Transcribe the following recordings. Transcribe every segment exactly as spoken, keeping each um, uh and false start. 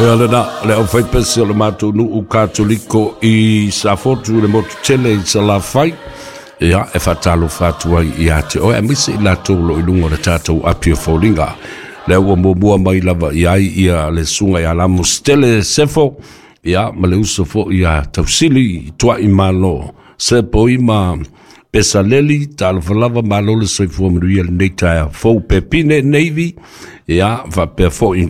Ia lena le aufaipese o le matou nuu Katoliko i Safotu i le motu tele i Salafai. Ia e faatalofa atu ai ia te oe aemaise i latou o lo o i luga o le tatou api o foliga. Lea ua muamua mai lava i ai ia le susuga ia Lamositele Sefo, ia ma le uso foi ia Tausili Tuai Malo Sepoima Pesaleli. Talofa lava, malo le soifua manuia lenei taeao fou. Pepine Navy, ia faapea foi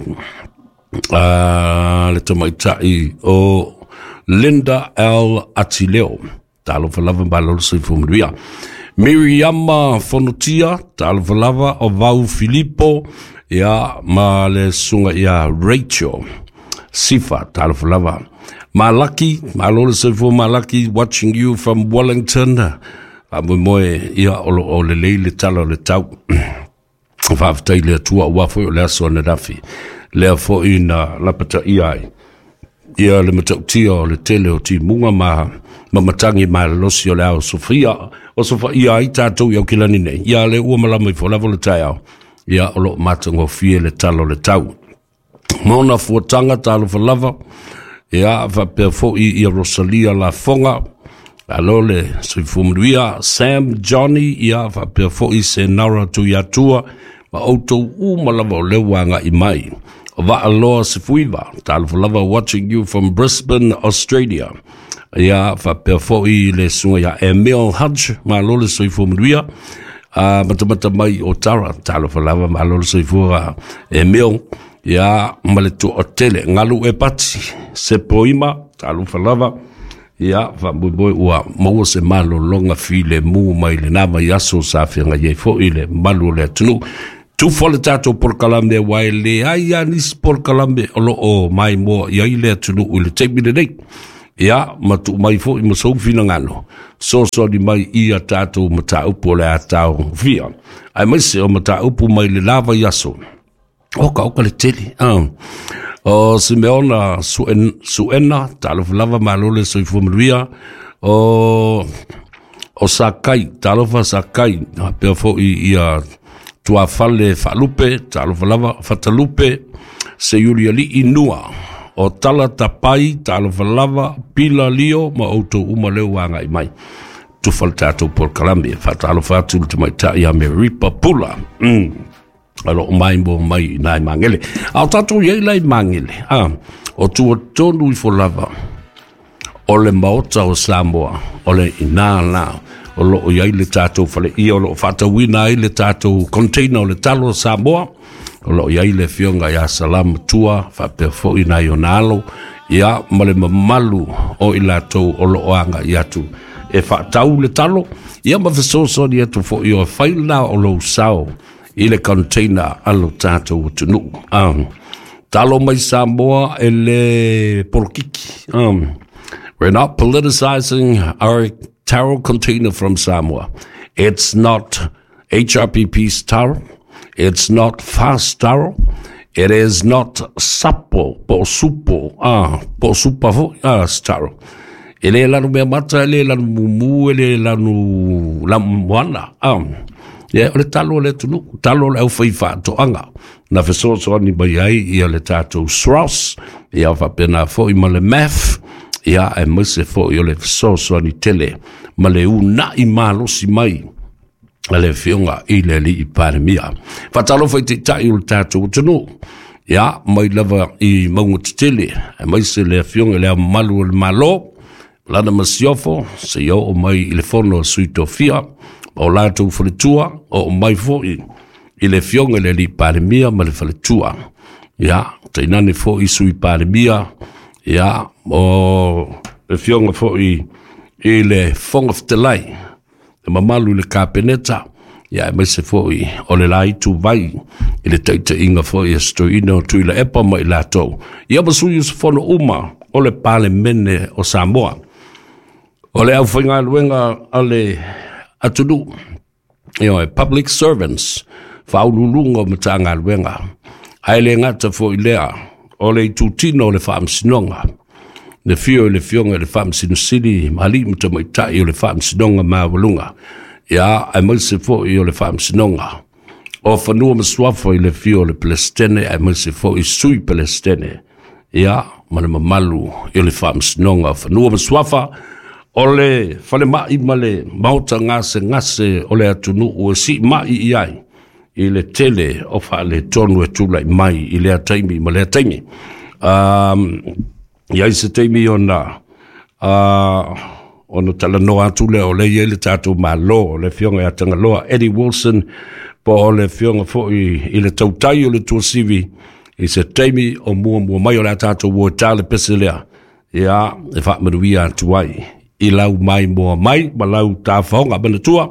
uh, le tamaitai o Linda L. Atileo. Talofa lava, malo le soifua manuia. Miriama Fonotia, talofa lava. O Vau Filipo, ia ma le susuga ia Rachel Sifa, talofa lava. Malaki, malo le soifua Malaki, watching you from Wellington. Faamoemoe ia o lo o lelei le tala o le tau. Faafetai le Atua aua foi o le aso ananafi. Lea foi na lapataia ai ia le matautia o le tele o timuga ma ma matagi malolosi o le ao sofia o sofaia ai tatou i Aukilani nei. Ia le ua malama ifo lava le taeao. Ia o lo o matagofie le tala o le tau. Mona fuataga, talofa lava. Ia faapea foi ia Rosalia Lafoga. Alo le soifua manuia. Sam Johnny, ia faapea foi Senara Tuiatua ma outou uma lava o lea ua agai mai. O Vaaloa Sefuiva, talofa lava, watching you from Brisbane, Australia. Ia faapea foi le susuga ia Emil Hudge, malo le soifua manuia. Uh, matamata mai o Tara, talofa lava, malo le soifua Emil. Ia ma le toatele, galu e pati, Sepoima, talofa lava. Ia faamoemoe ua maua se malologa filemu mai lena vaiaso sa feagai ai foi le mamalu o le atunuu. Tufa le tatou polokalame aua e leai lava nisi polokalame o lo o maimoa i ai le atunuu i le taimi lenei. Ia ma tuu mai foi ma sou finagalo fesoasoani mai ia tatou mataupu o le a taofia aemaise o mataupu mai le la vaiaso oka oka le tele. Ah. O Simeona Suen, Suena, talofa lava, malo le soifua manuia. O, o Sakai, talofa Sakai, faapea foi ia Tuafale Faalupe, talofa lava, Fatalupe, Seiulialii Nua. O Tala Tapai, talofa lava, Pila Lio, ma outou uma lea ua agai mai. Tufa le tatou polokalame, faatalofa atu le tamaitai ia Meripa Pula. Mm. O lo o maimoa mai i nai Magele. A o tatou i ai la i Magele, ah, o tua tonu ifo lava o le maota o Samoa, o le ina la o lo o i ai le tatou faleia o lo o faatauina ai le tatou container o le talo o Samoa. O lo o i ai le afioga ia Salamatua faapea foi nai ona alo, ia ma le mamalu o i latou o lo o agai atu e faatau le talo, ia ma fesoasoani atu foi o fai lena o lou sao i le container a lo tatou atunuu. Um, talo mai Samoa e le polokiki. Um, we're not politicizing our taro container from Samoa. It's not H R P P's taro. It's not fast taro. It is not sapo, po supo, ah, po supa foi, ah, taro. E le lanu mea mata, e le lanu mumu, e le lanu lamoana. Ah. Ia, o le talo o le atunuu, talo o le aufai faatoaga. Na fesoasoani mai ai ia le tatou SROS, ia faapena foi ma le M A F, ia aemaise foi o le fesoasoani tele ma le una'i malosi mai a le afioga i le alii Palemia. Faatalofa i taitai o le tatou atunuu. Ia, mai lava i mauga tetele, aemaise le afioga i le Ao Mamalu o le Malo, lana masiofo, seia oo mai i le fono a Sui Tofia, ma o latou faletua, oo mai foi i le afioga i le alii Palemia ma le faletua. Ia, tainane foi Sui Palemia, ia, o le afioga foi i le Fofoga Fetalai, le mamalu i le Kapeneta, ia aemaise foi o le la ituvai i le taitaiga foi a Stoina o Tuilaepa ma i latou. Ia ma sui usufono uma o le Palemene o Samoa. O le aufaigaluega a le atunuu, ia, public servants, faauluuluga o Matagaluega, ae le gata foi lea o le itutino o le Faamasinoga, le afio i le afioga i le Faamasino Sili ma alii ma tamaitai o le Faamasinoga Maualuga, ia aemaise foi o le Faamasinoga o Fanua ma Suafa i le afio o le Peresetene aemaise foi Sui Peresetene, ia ma le mamalu i le Faamasinoga o Fanua ma Suafa, o le falemai ma le maota gasegase o le atunuu e siimai i ai i le tele o faaletonu e tulai mai i lea taimi ma lea taimi. Um, i ai se taimi ona uh, ona talanoa atu lea o le i ai le tatou Malo, o le afioga ia Tagaloa Eddie Wilson, po o le afioga foi i le tautai o le Tuasivi i se taimi o muamua mai o le a tatou ua ta le pese lea, ia e faamanuia atu ai i lau mai moa mai ma lau tafaoga. Manatua,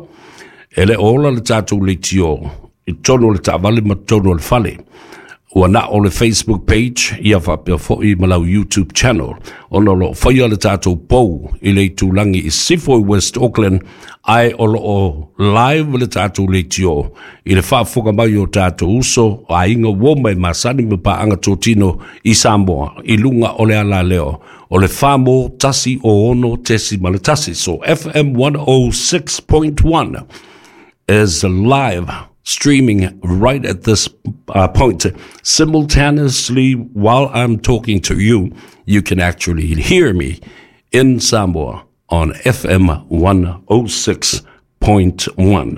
e le o ola le tatou leitio i totonu o le taavale ma totonu o le fale, ua na o le Facebook page ia faapea foi ma lau YouTube channel, ona o loo faia le tatou pou i le itulagi i Sifo i West Auckland, ae o loo live le tatou leitio i le faafofoga mai o tatou uso, aiga, uo ma e masani ma paaga totino i Samoa i luga o le alaleo o le Famo tasi o ono tesi ma le tasi. So F M one oh six point one is live streaming right at this uh, point. Simultaneously, while I'm talking to you, you can actually hear me in Samoa on F M one oh six point one.